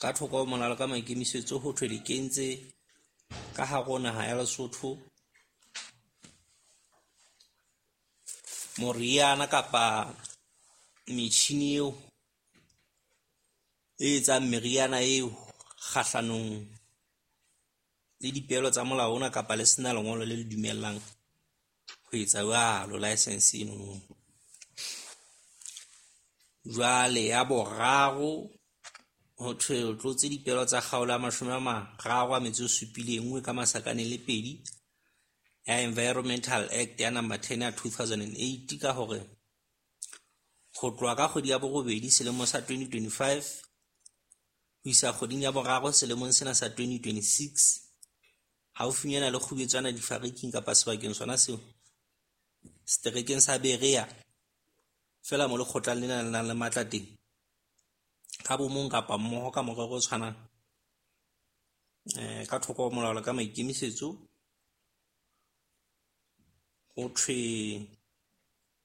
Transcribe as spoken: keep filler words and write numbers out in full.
Ka thoko ho molao ka maikemisetso ho thwe le kentse ka hare ho naha ya Lesotho moriana kapa metjhini eo e etsang meriana eo kgahlanong le dipehelo tsa molao ona kapa le sena lengolo le le dumellang ho etsa jwalo, license eno. Jwale ya boraro ho thwe o tlotse dipehelo tsa kgaolo ya mashome a mararo a metso e supileng, e nngwe ka masakaneng le pedi ya Environmental Act ya number ten ya two thousand and eight. Ka hore ho tloha ka kgwedi ya borobedi selemo sa twenty twenty five ho isa kgweding ya boraro selemong sena sa twenty twenty six. Haufinyana le Kgubetswana difariking kapa sebakeng sona seo seterekeng sa Berea. Feela mo lekgotlang lena le nang le matla teng. Ka bo mong kapa mmoho ka morero o tshwanang ka thoko ho molao le ka maikemisetso. Ho thwe